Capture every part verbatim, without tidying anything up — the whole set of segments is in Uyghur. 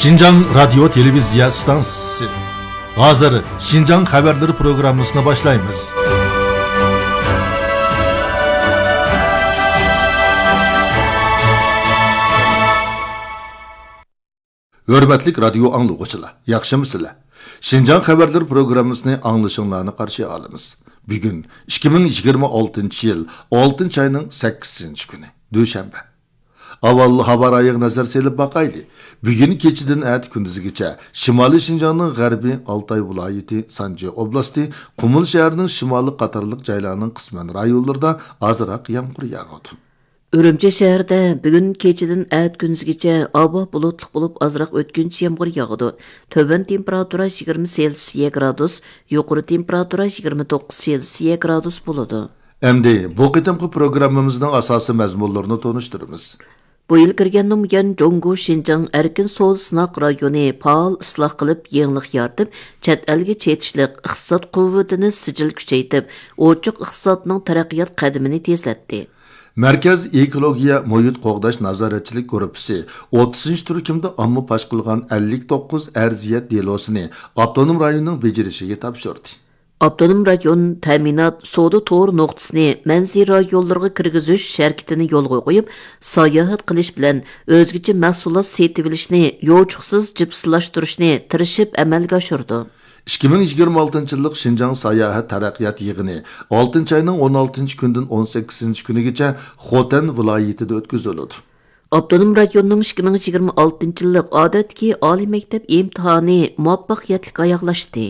شىنجاڭ رادىيو تېلېۋىزىيە ئىستانسىسى. ھازىر شىنجاڭ خەۋەرلىرى پروگراممىسىنى باشلايمىز. ھۆرمەتلىك رادىيو ئاڭلىغۇچىلار، ياخشىمۇسىلەر؟ شىنجاڭ خەۋەرلىرى پروگراممىسىنى ئاڭلىشىڭلارنى قارشى ئالىمىز. بۈگۈن ئىككى مىڭ يىگىرمە ئالتىنچى يىل ئالتىنچى ئاينىڭ سەككىزىنچى كۈنى، دۈشەنبە. ئاۋۋال ھاۋا رايىغا نەزەر سېلىپ باقايلى. بۈگۈن كېچىدىن ئەتە كۈندۈزگىچە شىمالىي شىنجاڭنىڭ غەربى، ئالتاي ۋىلايىتى، سانجى ئوبلاستى، قۇمۇل شەھىرىنىڭ شىمالىي قاتارلىق جايلارنىڭ قىسمەن رايونلىرىدا ئازراق يامغۇر ياغىدۇ. ئۈرۈمچى شەھىرىدە بۈگۈن كېچىدىن ئەتە كۈندۈزگىچە ھاۋا بۇلۇتلۇق بولۇپ، ئازراق ئۆتكۈنچى يامغۇر ياغىدۇ. تۆۋەن تېمپېراتۇرا يىگىرمە سېلسىيە گرادۇس، يۇقىرى تېمپېراتۇرا يىگىرمە توققۇز سېلسىيە گرادۇس بولىدۇ. ئەمدى بۇ قېتىمقى پروگراممىمىزنىڭ ئاساسىي مەزمۇنلىرىنى تونۇشتۇرىمىز. بۇ يىل كىرگەندىن بۇيان، جۇڭگو شىنجاڭ ئەركىن سودا سىناق رايونى پائال ئىسلاھ قىلىپ، يېڭىلىق يارىتىپ، چەت ئەلگە چېتىشلىق ئىقتىساد قۇۋۋىتىنى سىجىل كۈچەيتىپ، ئوچۇق ئىقتىسادنىڭ تەرەققىيات قەدىمىنى تېزلەتتى. مەركەز ئېكولوگىيە مۇھىت قوغداش نازارەتچىلىك گۇرۇپپىسى ئوتتۇزىنچى تۈركۈمدە ئامما پاش قىلغان ئەللىك توققۇز ئەرزىيەت دېلوسىنى ئاپتونوم رايوننىڭ بېجىرىشىگە تاپشۇردى. ئاپتونوم رايون تەمىنات سودا تور نۇقتىسىنى مەنزىرە رايونلىرىغا كىرگۈزۈش ھەرىكىتىنى يولغا قويۇپ، ساياھەت قىلىش بىلەن ئۆزگىچە مەھسۇلات سېتىۋېلىشنى يوچۇقسىز جىپسىلاشتۇرۇشنى تىرىشىپ ئەمەلگە ئاشۇرىدۇ. ئىككى مىڭ يىگىرمە ئالتىنچى يىللىق شىنجاڭ ساياھەت تەرەققىيات يىغىنى ئالتىنچى ئاينىڭ ئون ئالتىنچى كۈنىدىن ئون سەككىزىنچى كۈنىگىچە خوتەن ۋىلايىتىدە ئۆتكۈزۈلىدۇ. ئاپتونوم رايوننىڭ ئىككى مىڭ يىگىرمە ئالتىنچى يىللىق ئادەتتىكى ئالىي مەكتەپ ئىمتىھانى مۇۋەپپەقىيەتلىك ئاياغلاشتى.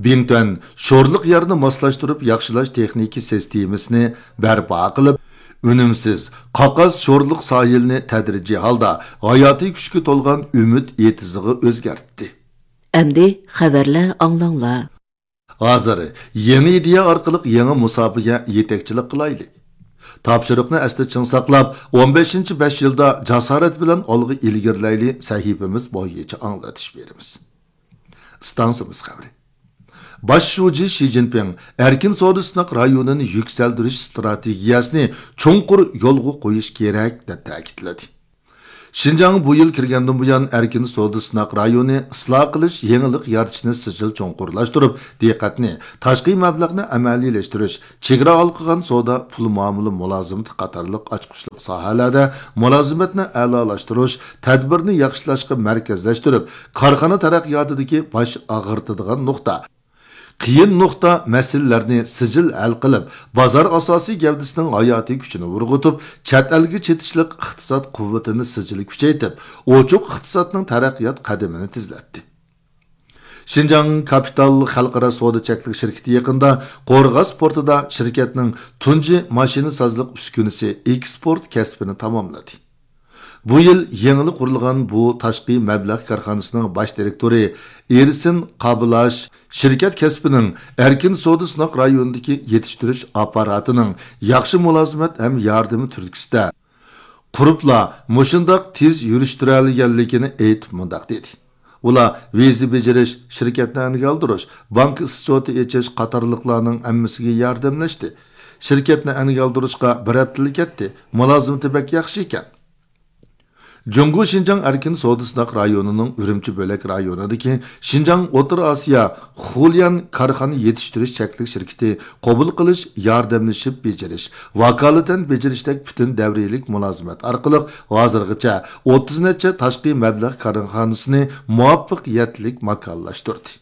بىڭتۈەن شورلۇق يەرنى ماسلاشتۇرۇپ ياخشىلاش تېخنىكا سىستېمىسىنى بەرپا قىلىپ، ئۈنۈمسىز، قاقاس شورلۇق ساھىلىنى تەدرىجىي ھالدا ھاياتىي كۈچكە تولغان ئۈمىد ئېتىزىغا ئۆزگەرتتى. ئەمدى خەۋەرلەر ئاڭلاڭلار. ھازىر يېڭى ئىدىيە ئارقىلىق يېڭى مۇساپىگە يېتەكچىلىك قىلايلى. تاپشۇرۇقنى ئەستە چىڭ ساقلاپ، ئون بەشىنچى بەش يىلدا جاسارەت بىلەن ئالغا ئىلگىرىلەيلى سەھىپىمىز بويىچە ئاڭلىتىش بېرىمىز. ئىستانسىمىز خەۋىرى. باش شۇجى شى جىنپىڭ ئەركىن سودا سىناق رايونىنى يۈكسەلدۈرۈش ئىستراتېگىيەسىنى چوڭقۇر يولغا قويۇش كېرەك، دەپ تەكىتلىدى. شىنجاڭ بۇ يىل كىرگەندىن بۇيان، ئەركىن سودا سىناق رايونى ئىسلاھ قىلىش، يېڭىلىق يارىتىشنى سىجىل چوڭقۇرلاشتۇرۇپ، دىققەتنى تاشقى مەبلەغنى ئەمەلىيلەشتۈرۈش، چېگرا ھالقىغان سودا، پۇل مۇئامىلە مۇلازىمىتى قاتارلىق ئاچقۇچلۇق ساھەلەردە مۇلازىمەتنى ئەلالاشتۇرۇش، تەدبىرنى ياخشىلاشقا مەركەزلەشتۈرۈپ، كارخانا تەرەققىياتىدىكى باش ئاغرىتىدىغان نۇقتا، قىيىن نۇقتا مەسىلىلەرنى سىجىل ھەل قىلىپ، بازار ئاساسىي گەۋدىسىنىڭ ھاياتىي كۈچىنى ئۇرغۇتۇپ، چەت ئەلگە چېتىشلىق ئىقتىساد قۇۋۋىتىنى سىجىل كۈچەيتىپ، ئوچۇق ئىقتىسادنىڭ تەرەققىيات قەدىمىنى تېزلەتتى. شىنجاڭ كاپىتال خەلقئارا سودا چەكلىك شىركىتى يېقىندا قورغاس پورتىدا شىركەتنىڭ تۇنجى ماشىنىسازلىق ئۈسكۈنىسى ئېكسپورت كەسپىنى تاماملىدى. بۇ يىل يېڭىلا قۇرۇلغان بۇ تاشقى مەبلەغ كارخانىسىنىڭ باش دىرېكتورى ئېرسىن قابىلاش شىركەت كەسپىنىڭ ئەركىن سودا سىناق رايونىدىكى يېتىشتۈرۈش ئاپپاراتىنىڭ ياخشى مۇلازىمەت ھەم ياردىمى تۈرتكىسىدە قۇرۇپلا مۇشۇنداق تېز يۈرۈشتۈرەلىگەنلىكىنى ئېيتىپ مۇنداق دېدى: ئۇلار ۋىزا بېجىرىش، شىركەتنى ئەنگە ئالدۇرۇش، بانكا ئىسچوتى ئېچىش قاتارلىقلارنىڭ ھەممىسىگە ياردەملەشتى. شىركەتنى ئەنگە ئالدۇرۇشقا بىر ھەپتىلا كەتتى. مۇلازىمىتى بەك ياخشى ئىكەن. جۇڭگو شىنجاڭ ئەركىن سودا سىناق رايونىنىڭ ئۈرۈمچى بۆلەك رايونىدىكى شىنجاڭ ئوتتۇرا ئاسىيا خۇليەن كارخانا يېتىشتۈرۈش چەكلىك شىركىتى قوبۇل قىلىش، ياردەملىشىپ بېجىرىش، ۋاكالىتەن بېجىرىشتەك پۈتۈن دەۋرىيلىك مۇلازىمەت ئارقىلىق ھازىرغىچە ئوتتۇز نەچچە تاشقى مەبلەغ كارخانىسىنى مۇۋەپپەقىيەتلىك ماكانلاشتۇردى.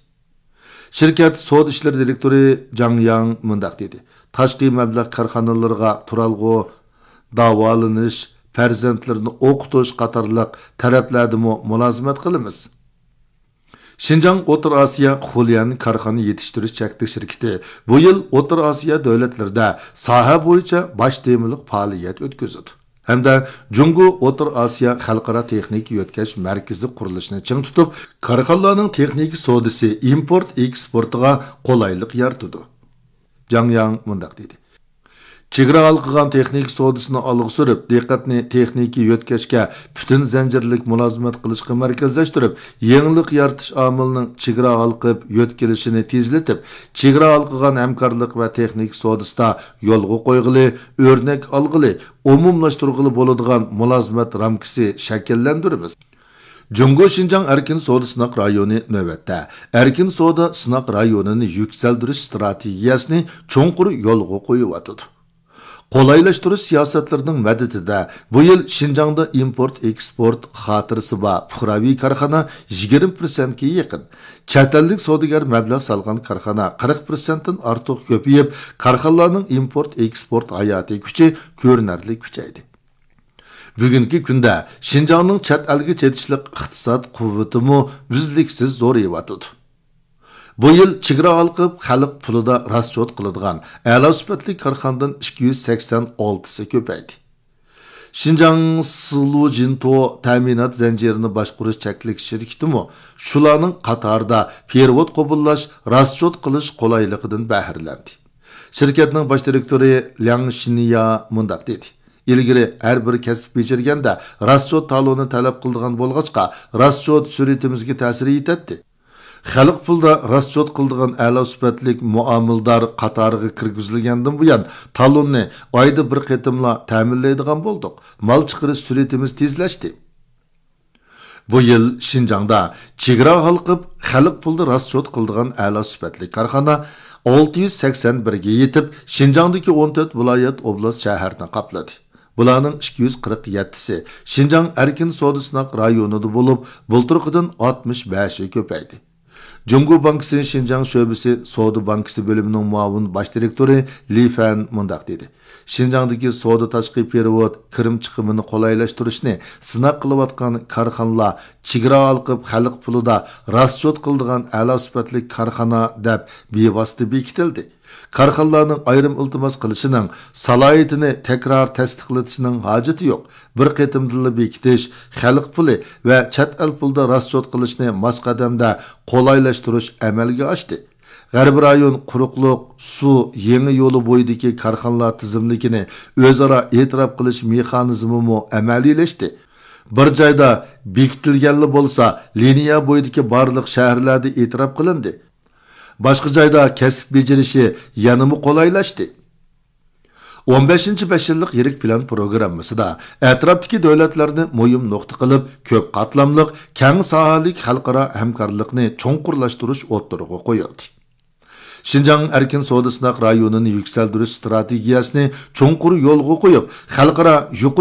شىركەت سودا ئىشلىرى دىرېكتورى جاڭ ياڭ مۇنداق دېدى: تاشقى مەبلەغ كارخانىلىرىغا تۇرالغۇ، داۋالىنىش، پەرزەنتلىرىنى ئوقۇتۇش قاتارلىق تەرەپلەردىمۇ مۇلازىمەت قىلىمىز. شىنجاڭ ئوتتۇرا ئاسىيا خۇليەن كارخانا يېتىشتۈرۈش چەكلىك شىركىتى بۇ يىل ئوتتۇرا ئاسىيا دۆلەتلىرىدە ساھە بويىچە باش تېمىلىق پائالىيەت ئۆتكۈزىدۇ ھەمدە جۇڭگو ئوتتۇرا ئاسىيا خەلقئارا تېخنىكا يۆتكەش مەركىزى قۇرۇلۇشىنى چىڭ تۇتۇپ، كارخانىلارنىڭ تېخنىكا سودىسى ئىمپورت ئېكسپورتىغا قولايلىق يارىتىدۇ. جاڭ ياڭ مۇنداق دېدى: چېگرا ھالقىغان تېخنىكا سودىسىنى ئالغا سۈرۈپ، دىققەتنى تېخنىكا يۆتكەشكە پۈتۈن زەنجىرلىك مۇلازىمەت قىلىشقا مەركەزلەشتۈرۈپ، يېڭىلىق يارىتىش ئامىلىنىڭ چېگرا ھالقىپ يۆتكىلىشىنى تېزلىتىپ، چېگرا ھالقىغان ھەمكارلىق ۋە تېخنىكا سودىسىدا يولغا قويغىلى، ئۆرنەك ئالغىلى، ئومۇملاشتۇرغىلى بولىدىغان مۇلازىمەت رامكىسى شەكىللەندۈرىمىز. جۇڭگو شىنجاڭ ئەركىن سودا سىناق رايونى نۆۋەتتە ئەركىن سودا سىناق رايونىنى يۈكسەلدۈرۈش ئىستراتېگىيەسىنى چوڭقۇر يولغا قويۇۋاتىدۇ. قولايلاشتۇرۇش سىياسەتلىرىنىڭ مەدىتىدە بۇ يىل شىنجاڭدا ئىمپورت ئېكسپورت خاتىرىسى بار پۇقراۋى كارخانا يىگىرمە پىرسەنتكە يېقىن، چەت ئەللىك سودىگەر مەبلەغ سالغان كارخانا قىرىق پىرسەنتتىن ئارتۇق كۆپىيىپ، كارخانىلارنىڭ ئىمپورت ئېكسپورت ھاياتىي كۈچى كۆرۈنەرلىك كۈچەيدى. بۈگۈنكى كۈندە شىنجاڭنىڭ چەت ئەلگە چېتىشلىق ئىقتىساد قۇۋۋىتىمۇ ئۈزلۈكسىز زورىيىۋاتىدۇ. بۇ يىل چېگرا ھالقىپ خەلق پۇلىدا راسچوت قىلىدىغان ئەلا سۈپەتلىك كارخانىدىن ئىككى يۈز سەكسەن ئالتىسى كۆپەيدى. شىنجاڭ سىلۇجىنتو تەمىنات زەنجىرىنى باشقۇرۇش چەكلىك شىركىتىمۇ شۇلارنىڭ قاتارىدا پېرېۋوت قوبۇللاش، راسچوت قىلىش قولايلىقىدىن بەھرىلەندى. شىركەتنىڭ باش دىرېكتورى لياڭ شىنيا مۇنداق دېدى: «ئىلگىرى ھەر بىر كەسىپ بېجىرگەندە راسچوت تالونى تەلەپ قىلىدىغان بولغاچقا، راسچوت سۈرئىتىمىزگە تەسىر يېتەتتى. خەلق پۇلدا راسچوت قىلىدىغان ئەلا سۈپەتلىك مۇئامىلىدار قاتارىغا كىرگۈزۈلگەندىن بۇيان، تالوننى ئايدا بىر قېتىملا تەمىنلەيدىغان بولدۇق. مال چىقىرىش سۈرئىتىمىز تېزلەشتى.» بۇ يىل شىنجاڭدا چېگرا ھالقىپ خەلق پۇلدا راسچوت قىلىدىغان ئەلا سۈپەتلىك كارخانا ئالتە يۈز سەكسەن بىرگە يېتىپ، شىنجاڭدىكى ئون تۆت ۋىلايەت، ئوبلاست، شەھەرنى قاپلىدى. بۇلارنىڭ ئىككى يۈز قىرىق يەتتىسى شىنجاڭ ئەركىن سودا سىناق رايونىدا بولۇپ، بۇلتۇرقىدىن ئاتمىش بەشى كۆپەيدى. جۇڭگو بانكىسى شىنجاڭ شۆبىسى سودا بانكىسى بۆلۈمىنىڭ مۇئاۋىن باش دىرېكتورى لى فەن مۇنداق دېدى: «شىنجاڭدىكى سودا تاشقى پېرېۋوت كىرىم چىقىمىنى قولايلاشتۇرۇشنى سىناق قىلىۋاتقان كارخانىلار چېگرا ھالقىپ خەلق پۇلىدا راسچوت قىلىدىغان ئەلا سۈپەتلىك كارخانا دەپ بىۋاسىتە بېكىتىلدى. كارخانىلارنىڭ ئايرىم ئىلتىماس قىلىشىنىڭ، سالاھىيىتىنى تەكرار تەستىقلىتىشنىڭ ھاجىتى يوق. بىر قېتىمدىلا بېكىتىش، خەلق پۇلى ۋە چەت ئەل پۇلىدا راسچوت قىلىشنى ماس قەدەمدە قولايلاشتۇرۇش ئەمەلگە ئاشتى. غەربىي رايون قۇرۇقلۇق، سۇ، يېڭى يولى بويىدىكى كارخانىلار تىزىملىكىنى ئۆزئارا ئېتىراپ قىلىش مېخانىزمىمۇ ئەمەلىيلەشتى. بىر جايدا بېكىتىلگەنلا بولسا، لىنىيە بويىدىكى بارلىق شەھەرلەردە ئېتىراپ قىلىندى. باشقا جايدا كەسىپ بېجىرىشى يەنىمۇ قولايلاشتى.» ئون بەشىنچى بەش يىللىق يىرىك پىلان پروگراممىسىدا ئەتراپتىكى دۆلەتلەرنى مۇھىم نۇقتا قىلىپ، كۆپ قاتلاملىق، كەڭ ساھەلىك خەلقئارا ھەمكارلىقنى چوڭقۇرلاشتۇرۇش ئوتتۇرىغا قويۇلدى. شىنجاڭ ئەركىن سودا سىناق رايونىنى يۈكسەلدۈرۈش ئىستراتېگىيەسىنى چوڭقۇر يولغا قويۇپ، خەلقئارا يۇقىرى